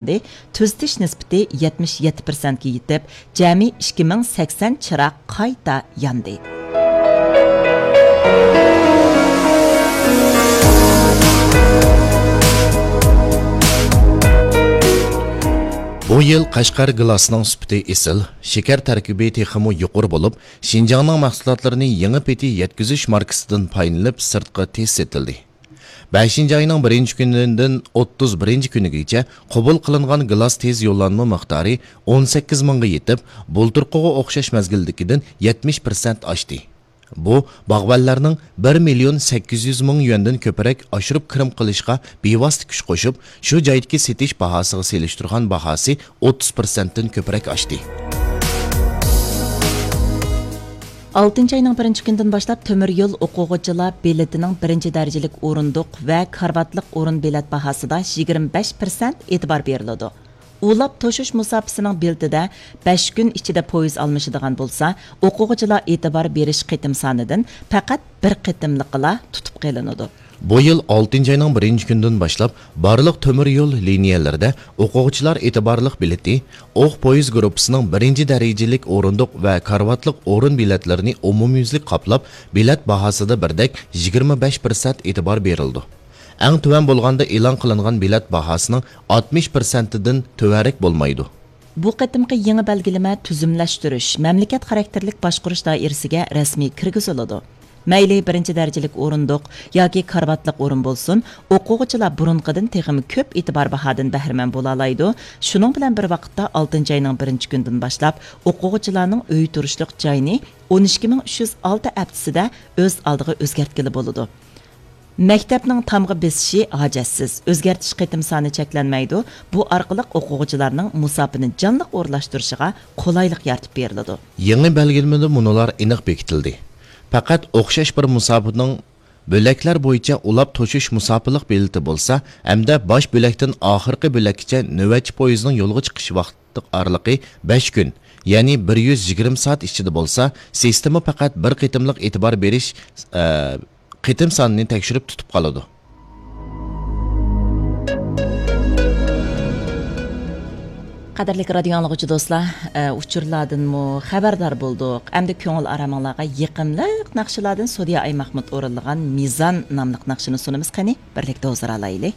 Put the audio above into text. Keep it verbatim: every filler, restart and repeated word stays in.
تۈزىتىش نىسبىتى يەتمىش يەتتە پىرسەنتكە يېتىپ، جەمئىي ئىككى مىڭ سەكسەن چىراغ قايتا ياندى. بۇ يىل قەشقەر گىلاسىنىڭ سۈپىتى ئېسىل، شېكەر تەركىبى تېخىمۇ يۇقىرى بولۇپ، شىنجاڭنىڭ مەھسۇلاتلىرىنى يېڭى پېتى يەتكۈزۈش ماركىسىدىن پايدىلىنىپ سىرتقا تېز سېتىلدى. بەشىنچى ئاينىڭ بىرىنچى كۈنىدىن ئوتتۇز بىرىنچى كۈنىگىچە قوبۇل قىلىنغان گىلاس تېز يوللانما مىقدارى ئون سەككىز مىڭغا يېتىپ، بۇلتۇرقىغا ئوخشاش مەزگىلدىكىدىن يەتمىش پىرسەنت ئاشتى. بۇ باغۋەنلەرنىڭ بىر مىليون سەككىز يۈز مىڭ يۈەندىن كۆپرەك ئاشۇرۇپ كىرىم قىلىشقا بىۋاسىتە كۈچ قوشۇپ، شۇ جايدىكى سېتىش باھاسىغا سېلىشتۇرغان باھاسى ئوتتۇز پىرسەنتتىن كۆپرەك ئاشتى. ئالتىنچى ئاينىڭ بىرىنچى كۈنىدىن باشلاپ تۆمۈر يول ئوقۇغۇچىلار بېلىتىنىڭ بىرىنچى دەرىجىلىك ئورۇندۇق ۋە كارىۋاتلىق ئورۇن بېلەت باھاسىدا يىگىرمە بەش پىرسەنت ئېتىبار بېرىلىدۇ. ئۇلاپ توشۇش مۇساپىسىنىڭ بېلىتىدە بەش كۈن ئىچىدە پويىز ئالمىشىدىغان بولسا، ئوقۇغۇچىلار ئېتىبار بېرىش قېتىم سانىدىن پەقەت بىر قېتىملىقىلا تۇتۇپ قېلىنىدۇ. بۇ يىل ئالتىنچى ئاينىڭ بىرىنچى كۈنىدىن باشلاپ، بارلىق تۆمۈر يول لىنىيەلىرىدە ئوقۇغۇچىلار ئېتىبارلىق بېلىتى، ئوق پويىز گۇرۇپپىسىنىڭ بىرىنچى دەرىجىلىك ئورۇندۇق ۋە كارىۋاتلىق ئورۇن بېلەتلىرىنى ئومۇميۈزلۈك قاپلاپ، بېلەت باھاسىدا بىردەك يىگىرمە بەش پىرسەنت ئېتىبار بېرىلىدۇ. ئەڭ تۆۋەن بولغاندا ئېلان قىلىنغان بېلەت باھاسىنىڭ ئاتمىش پىرسەنتىدىن تۆۋەنرەك بولمايدۇ. بۇ قېتىمقى يېڭى بەلگىلىمە تۈزۈملەشتۈرۈش، مەملىكەت خاراكتېرلىك باشقۇرۇش دائىرىسىگە رەسمىي كىرگۈزۈلىدۇ. مەيلى بىرىنچى دەرىجىلىك ئورۇندۇق ياكى كارىۋاتلىق ئورۇن بولسۇن، ئوقۇغۇچىلار بۇرۇنقىدىن تېخىمۇ كۆپ ئېتىبار باھادىن بەھرىمەن بولالايدۇ. شۇنىڭ بىلەن بىر ۋاقىتتا، ئالتىنچى ئاينىڭ بىرىنچى كۈنىدىن باشلاپ، ئوقۇغۇچىلارنىڭ ئۆي تۇرۇشلۇق جايىنى ئون ئىككى مىڭ ئۈچ يۈز ئالتە ھەپتىسىدە ئۆز ئالدىغا ئۆزگەرتكىلى بولىدۇ. مەكتەپنىڭ تامغا بېسىشى ھاجەتسىز، ئۆزگەرتىش قېتىم سانى چەكلەنمەيدۇ، بۇ ئارقىلىق ئوقۇغۇچىلارنىڭ مۇساپىنى جانلىق ئورۇنلاشتۇرۇشىغا قولايلىق يارىتىپ بېرىلىدۇ. يېڭى بەلگىلىمىدە مۇنۇلار ئېنىق بېكىتىلدى. پەقەت ئوخشاش بىر مۇساپىنىڭ بۆلەكلەر بويىچە ئۇلاپ توشۇش مۇساپىلىق بېلىتى بولسا ھەمدە باش بۆلەكتىن ئاخىرقى بۆلەككىچە نۆۋەتچى پويىزنىڭ يولغا چىقىش ۋاقتى ئارىلىقى بەش كۈن، يەنى بىر يۈز يىگىرمە سائەت ئىچىدە بولسا، سىستېما پەقەت بىر قېتىملىق ئېتىبار بېرىش، ئە، قېتىم سانىنى تەكشۈرۈپ تۇتۇپ قالىدۇ. قەدىرلىك رادىيو ئاڭلىغۇچى دوستلار، ئە، ئۇچۇرلاردىنمۇ خەۋەردار بولدۇق. ئەمدى كۆڭۈل ئارامىڭلارغا يېقىملىق ناخشىلاردىن سودىيە ئايماھمۇت ئورۇنلىغان مىزان ناملىق ناخشىنى سۇنىمىز. قېنى، بىرلىكتە ھۇزۇر ئالايلى.